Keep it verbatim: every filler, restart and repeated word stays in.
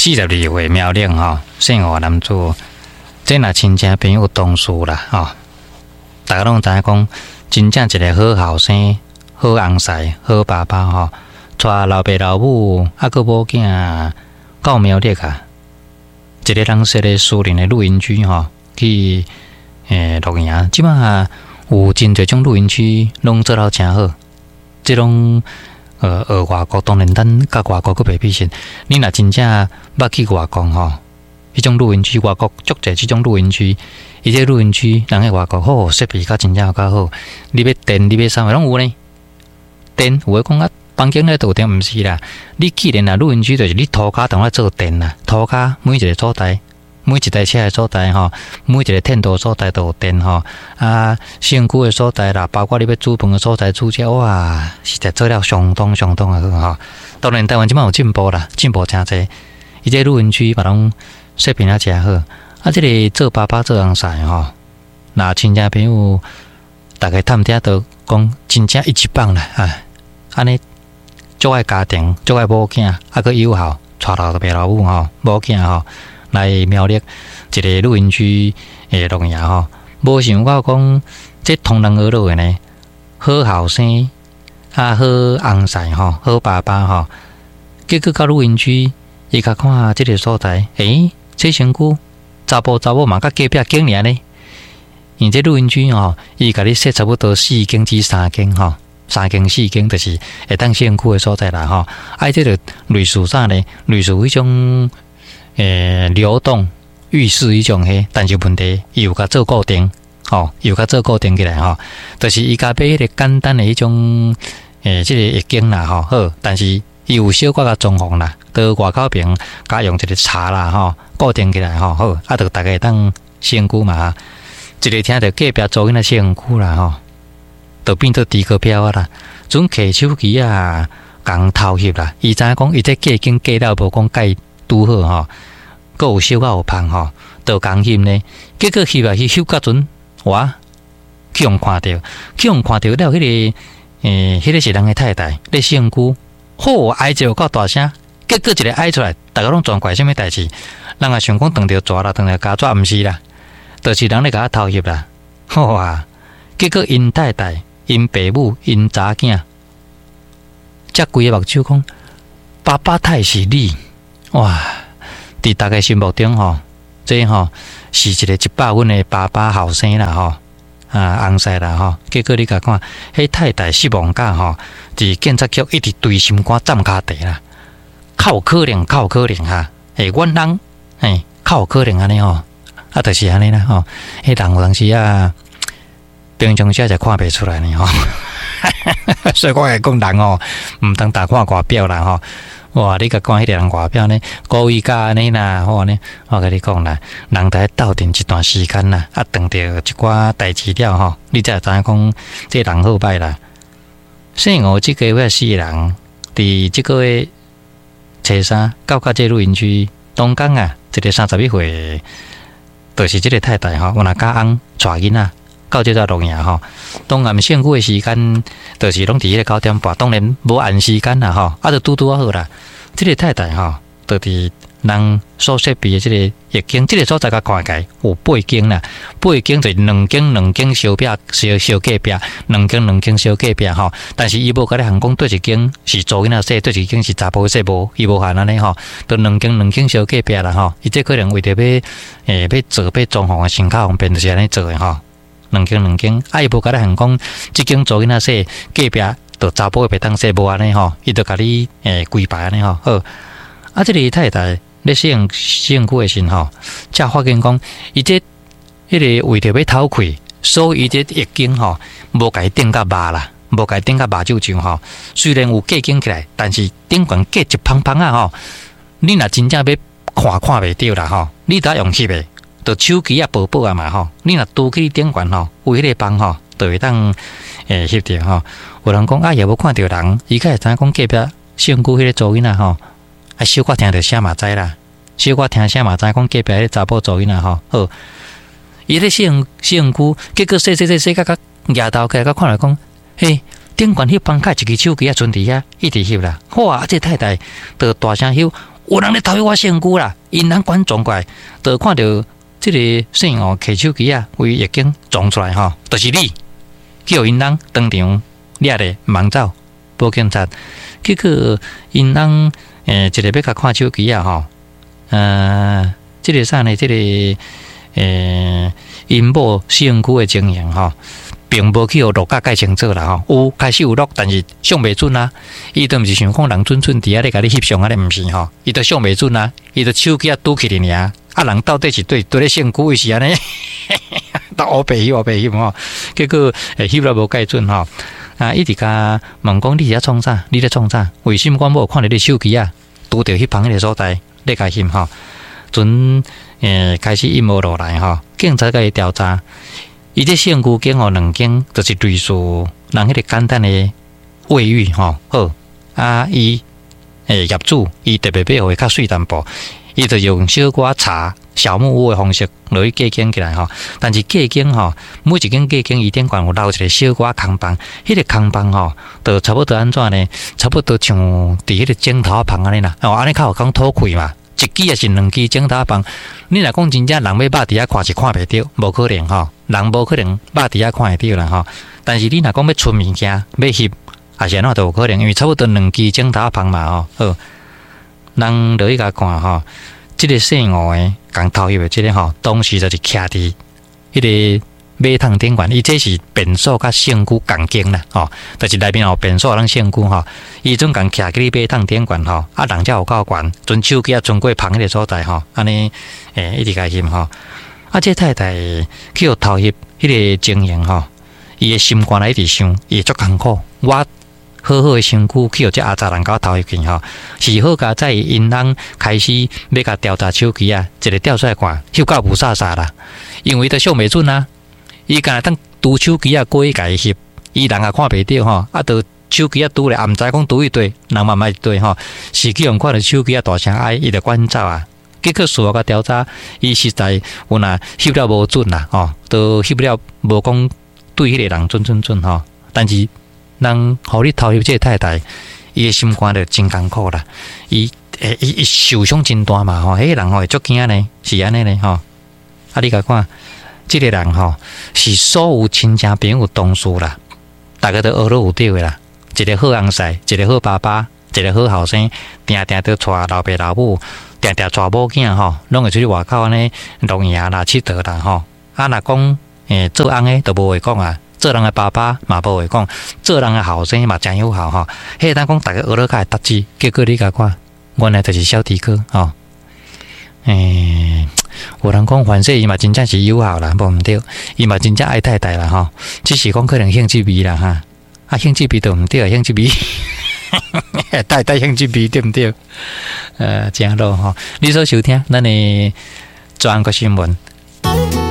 四十二歲苗栗吼，姓吳男子，這若親戚朋友同事啦吼，大家攏知影講，真正一個好後生、好翁婿、好爸爸吼，帶老爸老母啊，閣某囝到苗栗啊，一个人設的私人的露營區吼，去欸露營。這擺有真濟種露營區，攏做了誠好，這攏呃學外國，當然咱佮外國閣袂比賽。你若真正捌去外國吼，彼種露營區，外國足濟這種露營區，伊這露營區人喺外國好設備較真正較好。你欲電，你欲啥物攏有呢？電有的講啊，房間內都有電，毋是啦。你既然啊露營區，就是你塗跤當咧做電啦，塗跤每一個所在，每一台車的所在吼，每一個天道所在都有電吼。啊，身軀的所在啦，包括你欲煮飯的所在，煮食哇，實在做了相當相當的好吼。當然，台灣這擺有進步啦，進步誠濟。伊這露營區嘛攏設備啊誠好。啊，這个做爸爸做翁婿吼，若親戚朋友逐家探聽都講，真正一級棒啦啊！按呢足愛家庭，足愛某囝，啊閣友好，帶老爸老母吼，某囝吼來苗栗一个露營區的露營吼，無想到講這唐人學落的呢，好後生啊，好翁婿吼，好爸爸吼，結果到露營區，伊較看這个所在，欸，這身軀查埔查某嘛，佮隔壁間爾呢。因這露營區吼，伊共你設差不多四間至三間吼，三間四間就是會當洗身軀的所在啦吼。啊，這个類似啥呢？類似彼種欸流動浴室彼種彼，但是問題伊有共做固定，吼，有共做固定起來吼，就是伊共買彼个簡單的彼種欸，這个浴間啦吼，好，但是伊有小可共裝潢啦，佇外口爿共用一个柴啦吼，固定起來吼，好，啊，就逐家會當洗身軀嘛。一个聽著隔壁查某囡仔洗身軀啦吼，就變做豬哥飄啊啦，陣摕手機啊，共偷翕啦。伊知影講伊這隔間隔了無講蓋拄好吼，閣有小可有芳吼，就共翕呢。結果翕啊去翕到陣，哇，去予看著，去予看著了，彼个欸，彼个是人的太太咧洗身軀，好哀一有夠大聲，結果一个哀出來，逐家攏全怪啥物代誌？人也想講斷著蛇啦，斷著膠紙，毋是啦。就是人咧共我偷翕啦，好啊！結果𪜶太太、𪜶爸母、𪜶查囝，才規个目睭講，爸爸太是你哇！佇逐家心目中吼，這吼是一個一百分的爸爸後生啦吼，啊翁婿啦吼。結果你共看，彼太太失望甲吼，佇警察局一直捶心肝攢跤地啦，較有可能，較有可能哈，會阮翁，嘿，較有可能按呢吼。啊，就是按呢啦吼，彼人有當時啊，平常時就看袂出來呢吼，所以我會講人哦，毋通單看外表啦吼。哇，你共看彼个人外表呢，故意甲按呢啦，好呢，我共你講啦，人佇鬥陣一段時間啦，啊，碰著一寡代誌了吼，你才會知影講這人好歹啦。姓吳這家伙四个人，佇這個月初三到到這露營區，當工啊，一个三十一歲。就是這个太太吼，原來佮翁帶囡仔到這搭露營吼。當暗身軀的時間，就是攏佇彼个九點半，當然無按時間啦吼，啊，就拄拄仔好啦。這个太太吼，就佇人所設備的這個浴間，這个所在共看起來有八間啦，八間就是兩間兩間相壁相相隔壁，兩間兩間相隔壁吼。但是伊無共你限講，佗一間是查某囡仔洗，佗一間是查埔洗無，伊無限按呢吼，就兩間兩間相隔壁啦吼。伊這可能為著欲欸欲做欲裝潢的先較方便，就是按呢做的吼。兩間兩間，啊伊無共你限講，這間查某囡仔洗，隔壁就查埔的袂當洗，無按呢吼，伊就共你欸規排按呢吼。好，啊，這个太太咧洗洗身軀的時吼，才發現講，伊這彼个為著欲透氣，所以伊這浴間吼無共伊頂甲密啦，無共伊頂甲密糭糭吼。雖然有隔間起來，但是頂懸隔一芳芳仔吼，你若真正欲看看袂著啦吼，你得用翕的，就手機啊薄薄啊嘛吼，你若拄去頂懸吼，有彼個枋吼，就會當會翕著吼。有人講啊，也無看著人，伊敢會知影講隔壁身軀彼个查某囡仔吼，啊小可聽著聲嘛知啦，小可聽聲嘛知講隔壁彼个查埔查某囡仔吼，好，伊咧洗洗身軀，結果洗洗洗洗甲甲舉頭起來，佮看來講，嘿，頂懸彼枋較一支手機仔賰佇遐，一直翕啦，哇！這太太就大聲翕，有人咧偷翕我身軀啦！𪜶翁趕撞過來，就看著這个姓吳提手機仔，為獄警撞出來吼，就是你，叫𪜶翁當場掠咧，毋通走，報警察。結果𪜶翁欸，一个欲共看手機仔吼，呃，這个啥呢？這个欸，𪜶某身軀的情形吼，並無去予錄甲蓋清楚啦吼。有開始有錄，但是相袂準啊。伊都毋是想講人準準佇遐咧共你翕相按呢，毋是吼。伊都相袂準啊，伊就手機仔拄起來爾。啊，人到底是對佗咧身軀，伊是按呢，都烏白翕烏白翕吼。結果會翕了無蓋準吼。啊，一直共問講你佇遐創啥？你咧創啥？為什麼阮某看著你手機仔拄著彼旁彼个所在咧共翕吼？陣欸開始陰謀落來吼，警察共伊調查，伊這身軀間吼兩間，就是類似人彼个簡單的衛浴吼。好，啊，伊欸業主伊特別欲予伊較媠淡薄，伊就用小可柴小木屋的方式落去隔間起來吼。但是隔間吼，每一間隔間伊頂懸有留一個小可空房，彼個空房吼，就差不多按怎呢？差不多像佇彼個枕頭仔房按呢啦，哦，按呢較有講透氣嘛。一支抑是兩支枕頭仔房，你若講真正人欲肉佇遐看是看袂著，無可能吼，人無可能肉佇遐看會著啦吼。但是你若講欲賰物件，欲翕，也是按怎都有可能，因為差不多兩支枕頭仔房嘛吼。好，人落去共看吼，這个姓吳的共偷翕的這个吼，當時就是徛佇彼个馬桶頂懸，伊這是便所佮身軀仝間啦，吼，就是內面有便所通身軀吼，伊陣共徛佇馬桶頂懸吼，啊人才有夠懸，陣手機仔伸過旁彼个所在吼，按呢欸一直共翕吼，啊這太太去予偷翕彼个情形吼，伊的心肝內一直想，伊會足艱苦，我好好的身軀去予這阿雜人共我偷翕去吼，是好佳哉𪜶翁開始欲共調查手機仔，一个調出來看，翕甲霧煞煞啦，因為伊都相袂準啊。伊敢若當拄手機仔過去共伊翕，伊人也看袂著吼，啊，就手機仔拄咧，也毋知講拄佗佗，人嘛毋捌佗吼，是去予看著手機仔大聲哀，伊就趕走啊。結果事後共調查，伊實在有若翕了無準啦，吼，都翕了無講對彼个人準準準吼。但是人予你偷翕這个太太，伊的心肝就真艱苦啦。伊會伊伊受傷真大嘛吼，彼个人吼會足驚呢，是按呢呢吼。啊，你共看。這个人吼是所有親戚朋友同事啦，逐家都學了有對的啦。一个好翁婿，一个好爸爸，一个好後生，定定都帶老爸老母，定定帶某囝吼，攏會出去外口按呢露營啦、𨑨迌啦吼。啊，若講欸做翁的就無話講啊，做人的爸爸嘛無話講，做人的後生嘛誠有效吼。彼個當講逐家學了較會達志，結果你共看，原來就是小豬哥吼。欸，有人講反正伊嘛真正是有孝啦，無毋對，伊嘛真正愛太太啦吼，只是講可能興趣味啦哈，啊興趣味就毋對，興趣味，太太興趣味對毋對？呃，誠好吼，你所收聽咱的全國新聞，